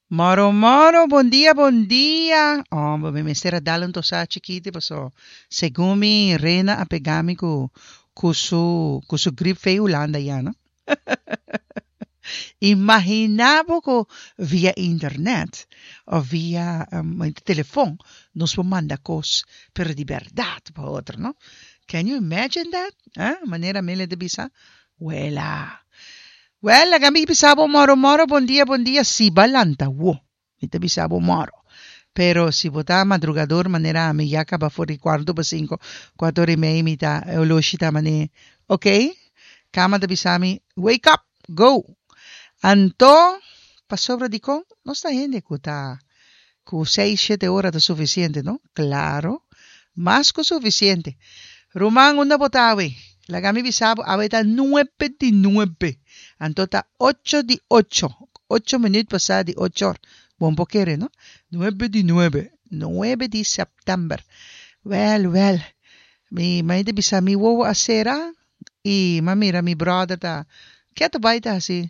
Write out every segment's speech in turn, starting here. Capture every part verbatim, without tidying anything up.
Moro moro, bon dia, bon dia. Oh, mi mester a dal un tosá chikito, paso segun mi Rena a pega mi ku ku su ku su grip fei Hulanda ya, no? Imaginá bo ku via internet of via um, telefon nos por manda kos, pero di bèrdat pa otro, no? Can you imagine that? Eh? Manera Mele ta bisa? Wela. Wel, laga mi bisa bo moro moro, bon dia, bon dia, si b'a lanta wo. Mi ta bisa bo moro. Pero si bo ta madrugador manera ami ya kaba for di kuarto pa sinku, kuater i mei mi ta e oloshi ta mane, ok, kama ta bisa mi, wake up, go! Anto, pasobra dikon nos ta hende ku ta ku seis, shete ora ta sufisiente, no? Klaro, mas ku sufisiente. Ruman, unda bo ta awe? Laga mi bisa bo, awe ta nuebe di nuebe. Anto ta ocho di ocho, ocho minuut pasá di ocho or. Bo no por kere, no? Nuebe di nuebe, nuebe di sèptèmber. Wèl, wèl, mi mai ta bisa mi wowo a sera i m'a mira mi bròder ta ketu bai ta hasi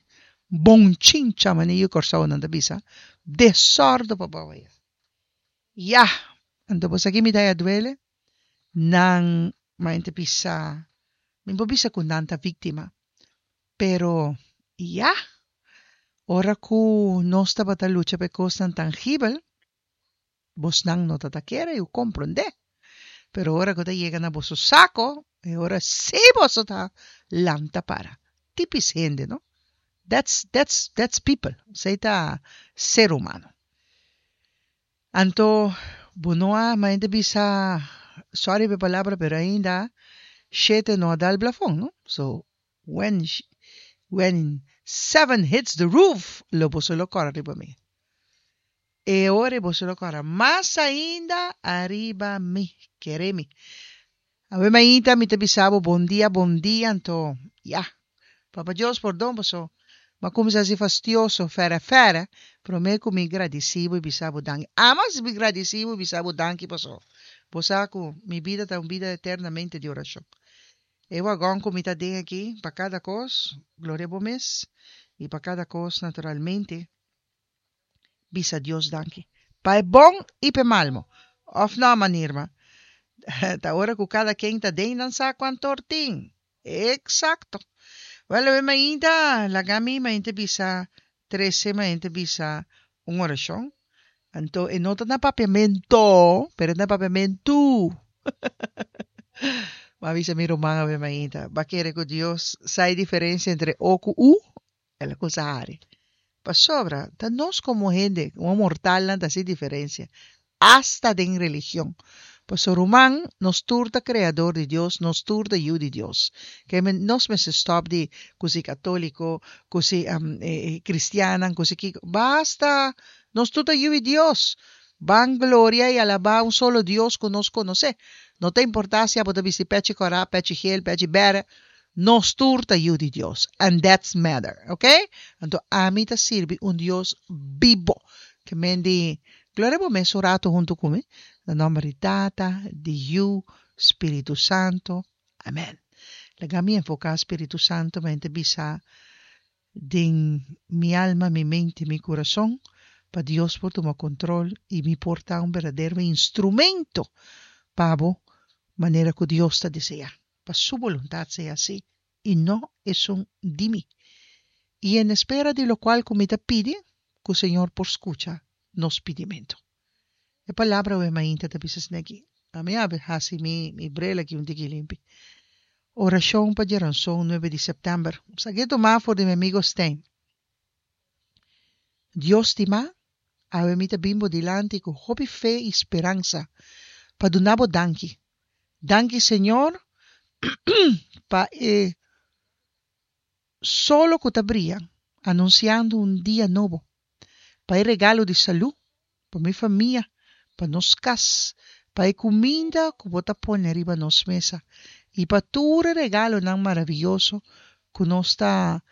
bonchincha, manera yu Kòrsounan ta bisa, desòrdu pa bou aya. Ya! Anto bo sa ki mi ta haya duele? Nan mai ta bisa, mi por bisa ku nan ta víktima, pero ya! Ora ku nos tabata lucha pa e kosnan tangibel, bosnan no ta ta kere i komprondé. Pero ora ku ta yega na boso sako, e ora sí boso ta lanta para. Típis hende, no? That's, that's, that's people. Esei ta ser humano. Anto, bo no a, ma hende bisa, sorry pa e palabra, pero ainda shete no a dal blafon, no? So, when, when seven hits the roof, lo boso lo kòrda riba mi. E ora boso lo kòrda mas ainda ariba mi, kere mi. Awe mainta mi ta bisa bo bon dia, bon dia, anto, ya. Papa Dios pordon boso. M'a kuminsá hasi fastioso, fere fere, promé ku mi gradisí bo i bisa bo danki. Amas mi gradisí bo i bisa bo danki paso. Bo sa ku mi bida ta un bida eternamente di orashon. E wagon ku mi ta den aki, pa kada kos, gloria bo mes, i pa kada kos, naturalmente, bisa Dios danki. Pa e bon i pa e malmo. Òf no, manirma. Ta ora ku kada ken ta den nan sa kuantu or tin. Eksakto. Wel, awe mainta, laga mi mainta bisa trese mainta bisa un orashon. Anto, e no ta na papiamento, pero na papiamentu. M'a bisa mi ruman awe mainta. B'a kere ku Dios sa e diferensia entre O ku U? El a kusa hari. Pasobra, ta nos komo hende, komo mortalnan ta hasi diferensia. Asta den religion. Pasobra ruman, nos tur ta kreador di Dios, nos tur ta yu di Dios. Ke men nos mester stòp di ku si katóliko, ku si um, eh, kristiannan, ku si kiko. Basta! Nos tur ta yu di Dios. Ban gloria i alabá un solo Dios ku nos konosé. No ta importá si abo ta bisti pechi kòrá, pechi gel, pechi bèrdè. Nos tur ta yu di Dios. And that's matter, ok? Anto ami ta sirbi un Dios bibo. Ke men di, gloria bo mes un ratu huntu ku mi. Na nòmber di Tata, di Yu, Spiritu Santu. Amèn. Laga mi enfoká Spiritu Santu mente bisa den mi alma, mi mente, mi kurason, pa Dios por tuma kontrol i mi por ta un berdadero instrumento pa bo manera ku Dios ta deseá. Pa su boluntat sea asina i no esun di mi. I en espera di lokual ku mi ta pidi, ku Señor por skucha nos pidimentu. E palabra awe mainta ta bisa aki. Ami a hasi mi mi bril aki un tiki limpi. Orashon pa djaranson nuebe di sèptèmber. Sak'é tumá for di mi amigu Stein. Dios stimá, awe mi ta bin bo dilanti ku hopi fe i speransa pa duna bo danki. Danki Señor pa e solo ku ta bria, anunsiando un dia nobo. Pa e regalo di salú, pa mi famia, pa nos kas, pa e kuminda ku bo ta pone riba nos mesa i pa tur regalonan maravioso ku nos ta